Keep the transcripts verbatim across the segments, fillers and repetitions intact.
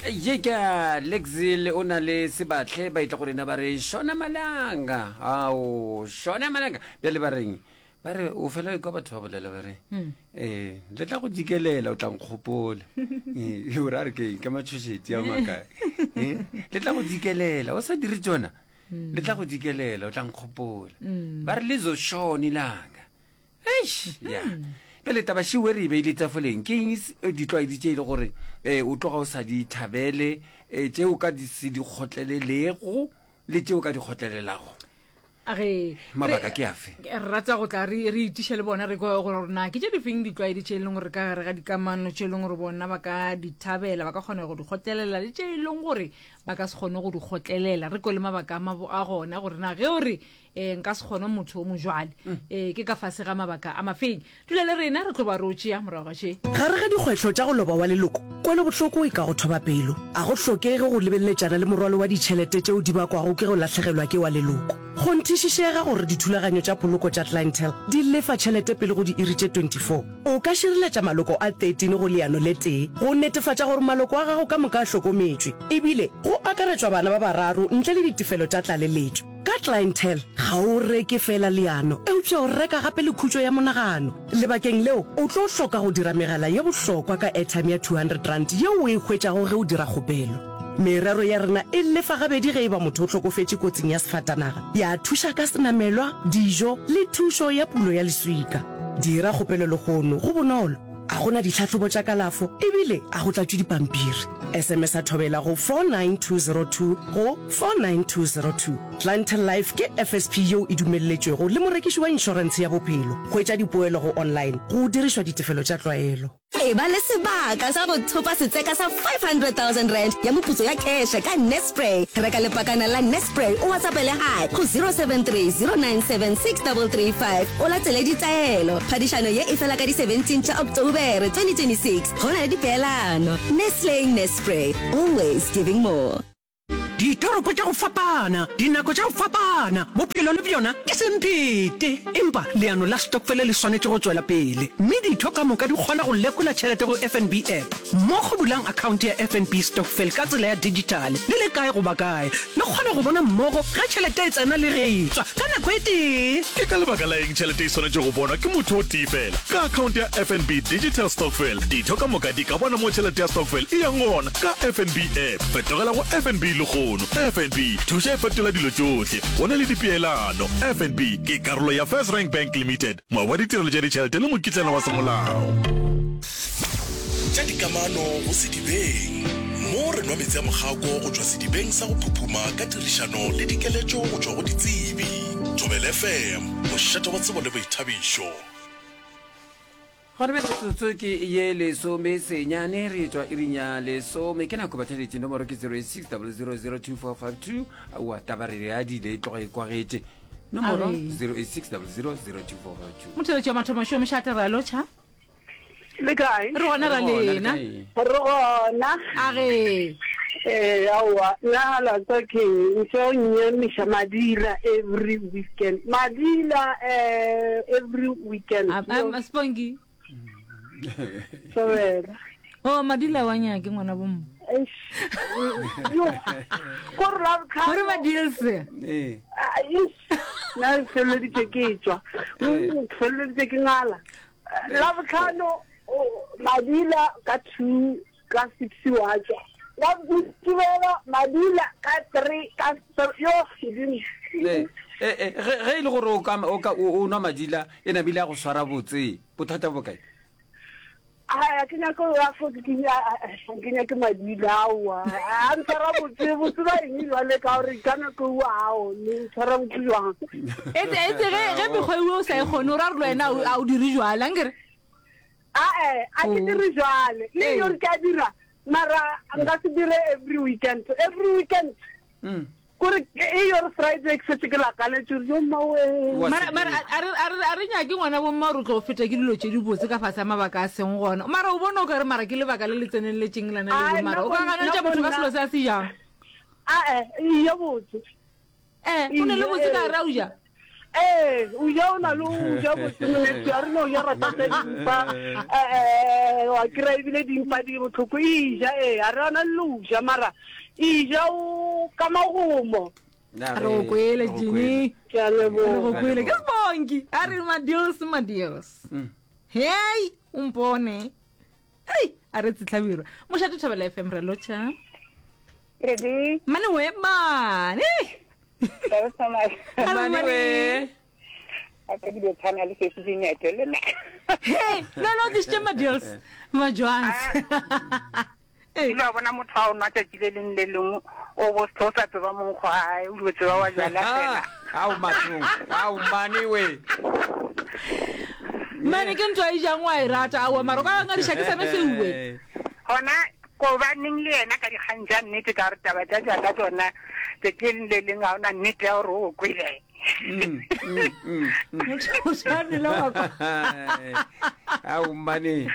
Ye ke a Lexil o na le Sebatle ba etla go rena ba re Shona Malanga. Ao, Shona Malanga. Bjale ba reng? Ba re o fela o kwa batho ba bolela ba re eh le tla go dikelela o tla nkgopola. Eh o ra re ke eng ka matšhošetši a makae. Eh le tla go dikelela o sa dire tšona. Le tla go dikelela o tla nkgopola. Ba re le zo shone langa. Eish, ya. Bjale taba šeo re e beile tafoleng ke eng s- ditlwaedi tše e le gore um o tloga o sa di thabele um tše o ka di se di kgotlelelego le tše o ka di kgotlelelago? A re Mabaka ke afe? Re rata go tla re re itiše le bona re kwe gore na ke tše difeng ditlwaedi tše e leng gore ka gare ga dikamano tše e leng gore bona ba ka di thabela, ba ka kgona go di kgotlelela le tše e leng gore ba ka se kgone go di kgotlelela. Re kwe le mabaka a mabo a gona gore na ge o re um nka se kgone motho o mojwale um ke ka fase ga mabaka a mafeng. Dula le rena re tlo ba re o tšea morago ga še. Gare ga dikgwehlo tša go loba wa leloko, kwelobohloko e ka go thoba pelo. A go hlokege go lebeletšana le morwalo wa ditšhelete tšeo di bakwago ke go lahlegelwa ke wa leloko. Kgonthišišega gore dithulaganyo tša poloko tša Clientele di lefa tšhelete pele go diiri tše twenty four. O ka šireletša maloko a thirteen go leano le tee go netefatša gore maloko a gago ka moka a hlokometšwe, ebile go akaretšwa bana ba bararo ntle le ditefelo tša tlaleletšo. Ka Clientele, ga o reke feela leano, eupša o reka gape le khutšo ya monagano. Lebakeng leo, o tlo hloka go dira megala ye bohlokwa ka airtime ya two hundred rand yeo o e hwetšago ge o dira kgopelo. Merero ya rena e lefa gabedi ge e ba motho o hlokofetše kotsing ya sefatanaga, ya thuša ka senamelwa, dijo le thušo ya pulo ya leswika. Dira kgopelo lehono, go bonolo, ga go na ditlhahlobo tša kalafo ebile ga go tlatšwe dipampiri. S M S a Thobela go four nine two zero two go four nine two zero two. Clientele Life ke F S P yeo e dumelletšwego le morekiši wa inšorentshe ya bophelo. Hwetša dipoelo go online go dirišwa ditefelo tša tlwaelo. Eba le sebaka sa go thopa setseka sa five hundred thousand rand ya moputso ya keše ka Nespray. Reka lepakana la Nespray o WhatsAppele hi go zero seven three, zero nine seven, six three three five o latele ditaelo. Phadišano ye e fela ka di seventeen tša October twenty twenty-six. Go na le dipeelano. Nestle Nespray, always giving more. Ditoropo tša go fapana, dinako tša go fapana, bophelo le bjona ke semphete. Empa leano la stokfele le swanetše go tšwela pele, mme ditho ka moka di kgona go lekola tšhelete go F N B app. Mmogo bulang akhaonte ya F N B Stokvel ka tsela ya digitale le le kae goba kae. Le kgona go bona mmogo ge tšhelete e tsena le ge e tšwa ka nako e tee. Ke ka lebaka la eng tšhelete e swanetše go bonwa ke motho o tee fela? Ka akhaonte ya F N B Digital Stokvel, ditho ka moka di ka bona mo tšhelete ya stokvel e yang gona ka F N B app. Fetogela go F N B lehono. F N B, thuša e fetola dilo tšohle. Go na le dipeelano. F N B ke karolo ya First Rank Bank Limited, moabi wa ditirelo tša ditšhelete le mokitlana wa semolao. Tša dikamano go sedibeng. Mo re nwa meetse a mokgako go tšwa sedibeng sa go phuphuma ka tirišano le dikeletšo go tšwa go ditsebi. Thobela F M, mošate wa tsebo le boithabišo. Gona bjale metsotso ke ye lesome senyane re tšwa iring ya lesome, ke nako batheletše. Nomoro ke zero eight six zero zero zero two four five two. Aowa, taba re adile e tloga e kwagetše. Nomoro Are. zero eight six zero zero zero two four five two. Motheletši wa mathomo šo mošate, re a lotšha. Le kae? Re gona ra Re gona, le lena. kae? Re gona. A re Ee, aowa, nna la tsa ke ntse o nnyamiša madila every weekend. Madila eh every weekend. A- a- Sponky. Sobela. O madila wa nyake ngwana bomma. Eish. Yo. Gore la gore madils. Ee. Ah, eish. Nna ke feleleditše ke tšwa. Mm, Ke feleleditše ke ngala. La botlhano o- madila ka two, ka six wa tšwa. La Mokibelo madila ka three, ka three, yo Modimo. Ee, ee, ee, ge ge e le gore o ka o ka o o nwa madila e namile a go swara botse, bothata bo kae? A ke nyake go ya fo ke ke nyake madila, aowa. A ntshwara botse, botse ba eng jwale, ka gore ka nako eo ao ne ntshwara botse jwang? Etse etse ge ge mekgwa eo o sa e kgone, o ra re le wena a o dire jwale ankere? Ae, a ke dire jwale le Ee. yore ke a dira, mara nka se dire every weekend, every weekend. Kore e yore Friday ke setse ke lakaletse gore yo mmawe. Wa Mara mara a re a re a re nyake ngwana bomma gore o tlo feta ke dilo tše di botse ka fase ga mabaka a seng gona, mara o bone o ka re mara ke lebaka le le tseneletseng lana Ai, leo, mara nna o ka go- ganetša nna motho ka go selo se a se jang? Ae, iyo botse. Eh, o ne le botse ka gare a o ja. Ee, o ja o na le o ja botse moneso, a re no ja rata tsa dimpa, eh, wa kry-a ebile dimpa di botlhoko, e ja ee, a re ana le o ja mara e ja o ka magomo. Re go kwele Jimmy, Ke a re go leboga. kwele ke sebonki a re madios madios. Hei, o mpone ei, a re tsetlhabirwa mošate Thobela F M re lotšha. Ready? Mane we mane. Mane we. A ka di tshwana le se se dinete le nna. Hey, no no tlisitše madios majwans. Ile wa bona motho a o nwa tšatši le leng le lengwe o bo o sa tseba monkgo ae o dio tseba wa jala fela. Ao mathong, ao mane we. Mane ke ntho a e jang wa e rata aowa mara o ka ngadiša ke sone seuwe. Gona ko baneng le yena ka dikgang tša nnete ka gore taba tša jala tsona tšatši le leng le leng ga ona nnete ya gore o kwele. Motho o tshwanela wa kwa. Ao mane.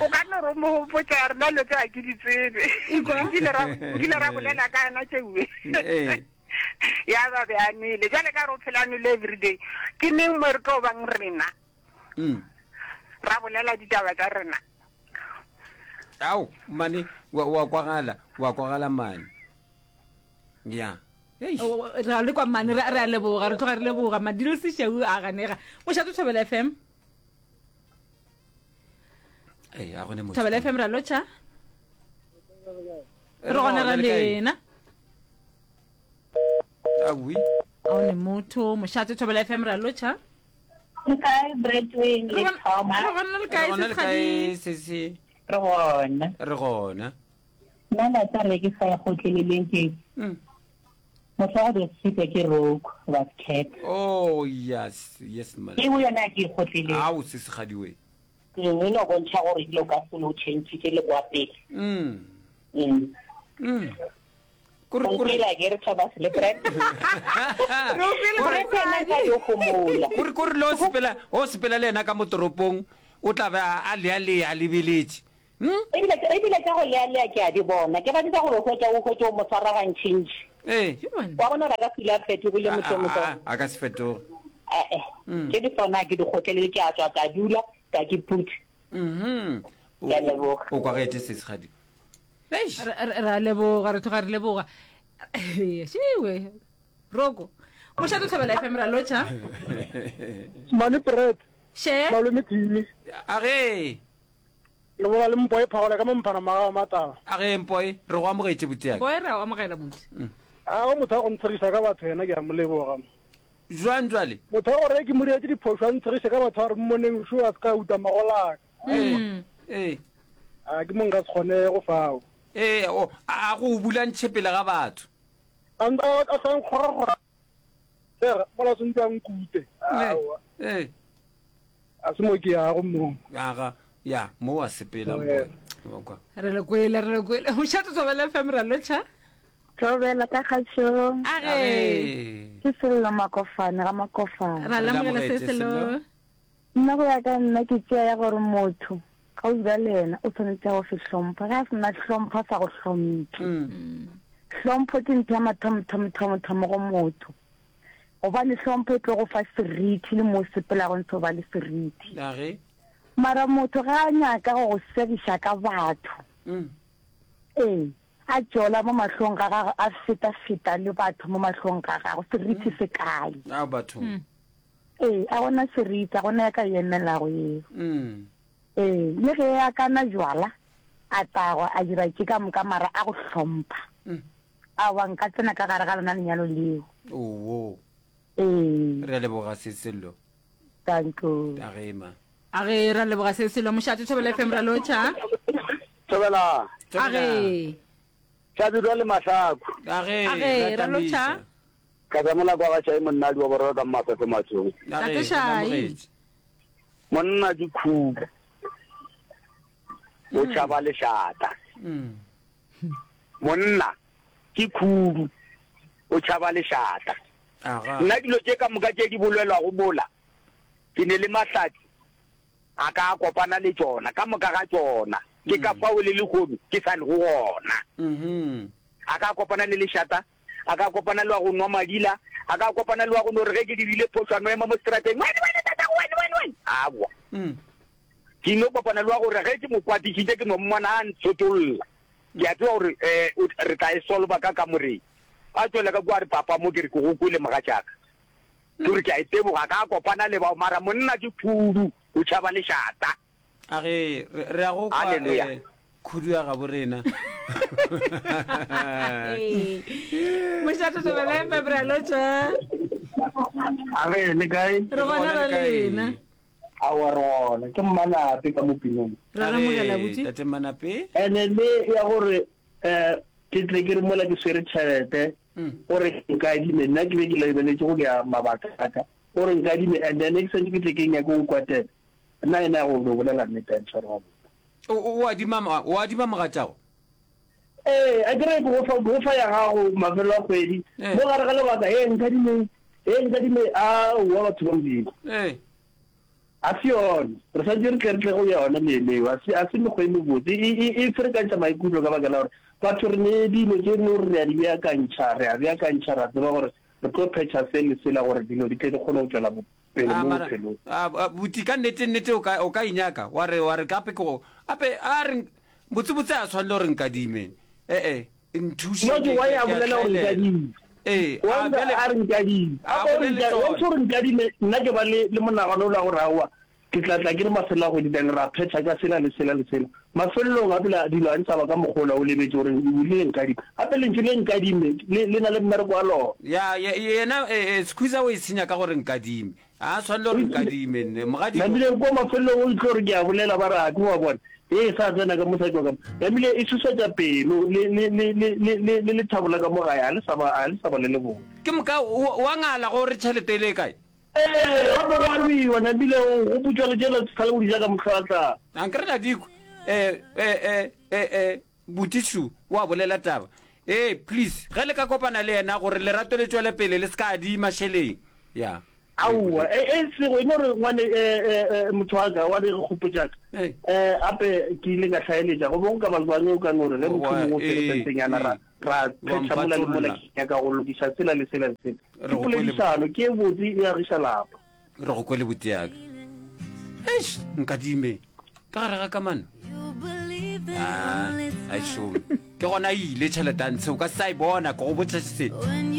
O ka no re mo gopotsa rena lo tse a ke di tsebe. Nkile ra nkile ra bolela ka yona tšeuwe. Ee. Ya ba be a nwele. Jwale ka re o phela a nwele everyday. Ke neng mo re tlo bang rena? Mm. Ra bolela ditaba tsa rena. Ao mane wa wa kwagala, wa kwagala mane. Ya. Re a le kwa mane, re a leboga, re tloga re leboga. Madilo Sešau a ganega. Mošate Thobela F M. Ee, a gone motho. Thobela F M ra lotšha. Re gona ra lena. Awi. A one motho, mošate Thobela F M ra lotšha. Le kae Bradwin le Thomas? Re gona le kae Re gona le kae sesi? Re gona. Re gona. Nna la tsa re ke sa gotleleleng ke. Motho wa go sitwa ke roke ba cat. Oh yes, yes man. Ke yona ke gotlelele. Ao sesi gadiwe. Ke no bontšha gore dilo ka se no change ke le kwa pele. Mm. Mm. Mm. Kore kore la ke re Thomas le Brad. Kore kore kore lo sepela o sepela le yena ka mo toropong o tla ba a lea lea lebeletše. Ebile ebile ka go lea lea ke a di bona. Ke batla gore o hwetša o hwetše o mo tshwara gantšintši. Ee. Wa bona ra ka fila fetogile motho motho. A ka se fetoge. Eh eh. Ke di tsona ke di gotlelele ke a tswa ka dula ka ke putse. Mhm. Ke a leboga. O kwagetse sesegadi. Re a leboga, re tloga re leboga. Šiwe. Roko. Mošate Thobela F M ra lotšha. Mane Brad. She. Malome Timi. A ge. Le bona le mpoe phagola ka mo mphana maga mataba. A ge mpoe, re go amogetše botiaka. Mpoe re a amogela motho. A go motho a go ntshegisa ka batho yena ke a mo leboga. Jwang jwale? Motho wa gore ke mo dietse diphošo a ntshegise ka batho a re mmoneng šo a se ka uta magolaka. Ee. Ee. A ke mo nka se kgone go fao. Ee, o a go bula ntšhepele ga batho. A a tla nkgora-gora. Sera, mola sentse a nkute. Aowa. Ee. A se mo ke yago mo. Aga, ya, mo wa sepela mpoe. Wa kwa. Re le kwele, re le kwele. Mošate Thobela F M ra lotšha. Thobela ka kgašong. A ge. Ke Sello Makofane, ga Makofane. Ra lamogela se Sello. Nna go ya ka nna ke tšea ya gore motho ga o dula le yena o tshwanetse go se hlompha. Ge a se na hlompho a sa go hlomphe. Hlompho ke ntho ya mathomo thomo thomo thomo go motho. Gobane hlompho e tlo go fa seriti le mo sepelago ntse o ba le seriti. A ge. Mara motho ga a nyaka go go segiša ka batho. Ee, a tšola mo mahlong ga gagwe, a feta-feta le batho mo mahlong ga gagwe, seriti se kae? A batho. Ee, a gona seriti, a gona ya ka emelago eo. Ee, le ge a kana jwala, a tagwa, a dira tše ka moka mara a go hlompha. Aowa nka tsena ka gare ga lona lenyalo leo. Oo. Ee. Re a leboga se Sello. Danko. A ge ma. A ge ra leboga se Sello. Mošate Thobela F M ra lotšha. Thobela. A ge. Tšhabirwa le Mahlaku. A ge. A ge ra lotšha. Ka tsamela kwa ga Tšai monnadi wa boraro ka Mmafefe Matsong. Tate Shai. Monna ke khubu. O tšhaba lešata. Monna ke khubu. O tšhaba lešata. Nna dilo tše ka moka tše di bolelwago mola ke ne le mahlatsi a ka kopana le tšona ka moka ga tšona. Ke ka fao le lehono ke sa le go gona. A ka kopana le lešata, A ka kopana le wa go nwa madila, a ka kopana le wa go no re ge ke dirile phošo a no ema mo seterateng, Wene, wene, tatago, wene, wene, wene. Aowa. Ke no kopana le wa gore ge ke mo kwatišitše ke no mmona a ntshotolla. Ke a tseba gore um re tla e solva ka kamoreng. A tšwela ka kua a re, Papa, mo ke re ke go kwele mogatšaka. Ke gore ke a iteboga, ka kopana le bao, mara monna ke khudu, o tšhaba lešata. A ge, re, re a go kwa, Haleluya. eh, khudu ya gabo rena. Mošate Thobela F M, re a lotšha. A ge, le kae? Re gona ra lena. Aowa, re gona. Ke Mmanape ka mo pinong. Re A ramogela ge, botse. Tate Mmanape. Ene le ya gore um ke tle ke re mola ke swere tšhelete gore nkadime, nna ke be ke lebeletše go bea mabaka a ka gore nkadime and then ke santše ke tle ke nyake go kwatela, nna ena ya go no bolela nnete a ntshware gabotse. O, o, o adima, o adima mogatšago? Ee, a ke re ke go fa, ke go fa ya gago mafelo a kgwedi, mo gare ga lebaka, hee nkadime, hee nkadime, aowa batho ba Modimo. Ee. A se yona. Re santše re tle re tle go yona le leo. A se, a se mekgwa e mebotse. E, e, e ferekantšha maikutlo ka baka la gore batho re ne dilo tše no re re a di beakantšha, re a beakantšha, ra tseba gore re tlo phetha se le sela gore dilo di tle di kgone go tšwela pele A mo mara, bophelong. a, a, buti, ka nnete, nnete o ka, o ka e nyaka, wa re, wa re gape ke go, gape a re, botsebotse a swanele gore nkadime. E-e, nthuše, No, ke ke, why ke, a ke a bolela gore hlaelela. nkadime. Ee, Wa a nka bjale a re nkadime. a Gape o re bolele nka, tšona. once o re nkadime, nna ke ba le, le monagano ola gore aowa, ke tla tla ke re mafelelo a kgwedi then ra phetha ka sela le sela le sela. Mafelelong gape la, dilo ga di sa ba ka mokgwa ola o lebetše gore o rile nkadime. Gape lentšu le nkadime le, le na le mmereko wa lona. Ya, ye, yena, e, e, Skhuza o e senya ka gore nkadime. A swanele gore nkadime, nne, mogadimo. Namile kwa mafelelong o itlo re ke a bolela ba re a ke wa bona e sa tsena ka mo sa tšwa ka mo. Namile e susetša pelo le le le le le le le lethabo la ka mo gae a le sa ba a le sa ba le le botse. Ke moka o wa ngala go re tšhelete e le kae? Ee, gape go arwiwa namile o gopotšwa le tšela tlhale o di ja ka mohlwahlwa. Ankere la dikwe eh eh eh eh eh Botišu wa bolela taba. Ee please ge le ka kopana le yena gore lerato le tšwele pele le se ka adima šeleng. Ya. Aowa, e, e sego, e no re ngwane, e, e, e, motho wa ka, wa re kgopotša ka. E, ape ke ile ka hlaeletša, go be go ka ba jwang o ka no re ge motho mongwe o fere sentenyana ra, ra phetha mola le mola, ke nyaka go lokiša sela le sela le sela. Ke poledišano, ke e botse, e agiša lapa. Re go kwele buti ya ka. Eish, nkadime ka gare ga kamano. Ah, a e šome. Ke gona e ile tšhelete a ntshe, o ka se sa e bona, ke go botša se.